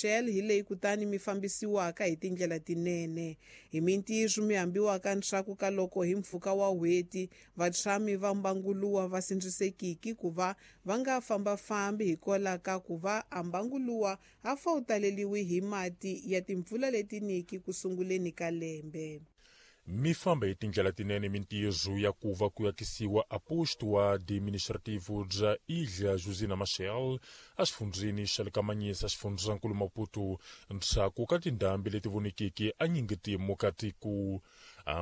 Machel hi leyi kutani mi fambisiwaka hi tindlela tinene. Hi mintirho mi hambiwaka ndzhaku ka loko hi mpfhuka wa n'hweti vatshami va mbanguluwa va sindzisekiki ku va va nga fambafambi hikwalaho ka ku va a mbanguluwa a fa wu taleriwi hi mati ya timpfula letiniki ku sunguleni ka lembe. Mi famba hi tindlela tinene mintirho ya ku va ku akisiwa a posto administrativo bya Ilha Josina Machel exifundzheni xa le ka Manhiça, xifundzankulu Maputo, ndzhaku ka tindhambi leti vonekeke enyingitimu ka tiko.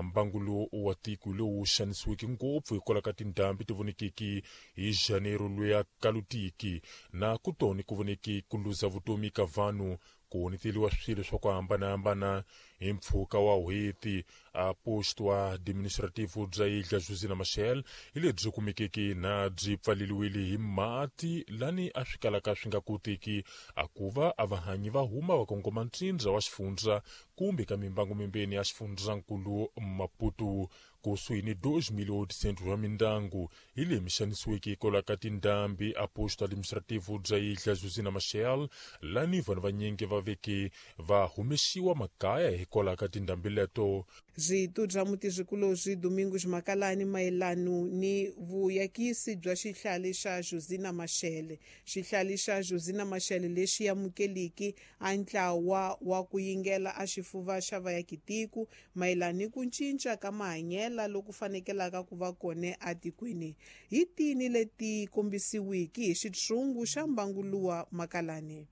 Mbangu wa tiko lowu xanisiweke ngopfu hikwalaho ka tindhambi ti vonekeke hi Janeiro luya kalutiki na kutoni ku voneke ku luza vutomi ka vanhu, ku honeteliwa swilo swa ku hambanahambana hi mpfhuka wa n'hweti. A posto administrativo bya Ilha Josina Machel hi lebyi kumekeke na byi pfaleliwile hi mati lani a swi kalaka swi nga koteki a ku va a vahanyi va huma va kongoma ntsindza wa xifundza kumbe ka mimbangu mimbeni ya xifundzankulu Maputo. Kusuhi ni 2.800 wa mindyangu hi leyi mi xanisiweke hikwalaho ka tindhambi a posto administrativo bya Ilha Josina Machel, lani vanhu vanyingi va veke va humesiwa makaya hikwalaho ka tindhambi leto. Rito bya mutirhikulobye Domingos Makalani mayelano ni vuyakisi bya xihlale xa Josina Machel. Xihlale xa Josina Machel lexi amukeliki a ntlawa wa ku yingela a xifuva xa vayakitiko mayelana ni ku cinca ka mahanyela loku fanekelaka ku va kona etikweni. Hi tini leti kombisiwiki hi xitshungu xa mbanguluwa Makalani?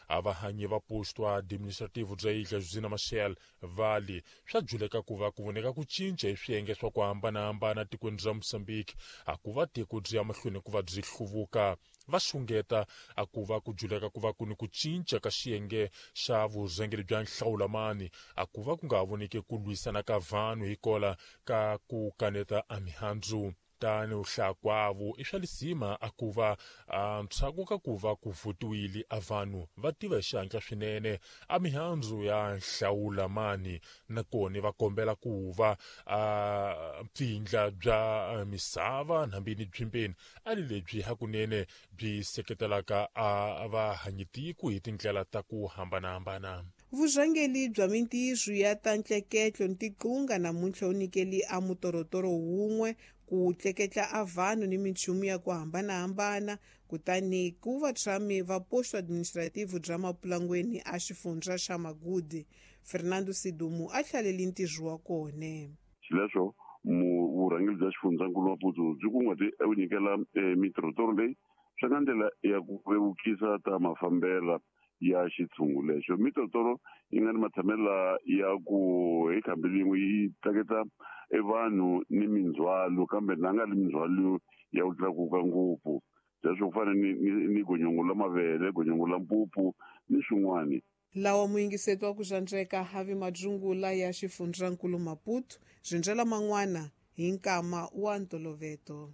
A vahanyi va posto administrativo bya Ilha Josina Machel vali swa juleka ku va ku voneka ku cinca hi swiyenge swa ku hambanahambana tikweni ra Mozambique, a ku va tiko byi ya mahlweni ku va byi hluvuka. Va xungeta a ku va ku juleka ku va ku ni ku cinca ka xiyenge xa vurhangeri bya nhlawulamani, a ku va ku nga ha voneki ku lwisana ka vanhu hikola ka ku kaneta a mihandzu. Tani u hlakwavo i swa lisima a ku va ndzhaku ka ku va ku votiwile a vanhu va tiva hi xihatla swinene a mihandzu ya nhlawulamani, nakona va kombela ku va a mpfindla bya misava nambini byimbeni a li lebyi hakunene byi seketelaka a vahanyitiko hi tindlela ta ku hambanahambana. Vurhangeri bya mintirho ya ta ntleketlo ni tiqunga namuntlha wu nyikeli a mutorotoro wun'we ku tleketla a vanhu ni minchumu ya ku hambanahambana, kutani ku vatshami va posto administrativo bya Mapulangweni a xifundza xa Magudi. Fernando Sidumu a hlaleli ntirho wa kona. Xileswo vurhangeri bya xifundzankulu Maputo byi kunguhate ku nyikela mitorotoro leyi swi nga ndlela ya ku vevukisa ta mafambela ya xitshungu lexo. Mitorotoro yi nga ni matshamelo ya ku hi khambi lin'we yi tleketla e vanhu ni mindzhwalo, kambe na nga ri mindzhwalo ya ku tlakuka ngopfu, leswo ku fana ni gonyongo la mavele, gonyongo la mpupu ni swin'wani. Lawa muyingiseti wa ku xandzeka havi madzungula ya xifundzankulu Maputo, zindlela man'wana hi nkama wa ntoloveto.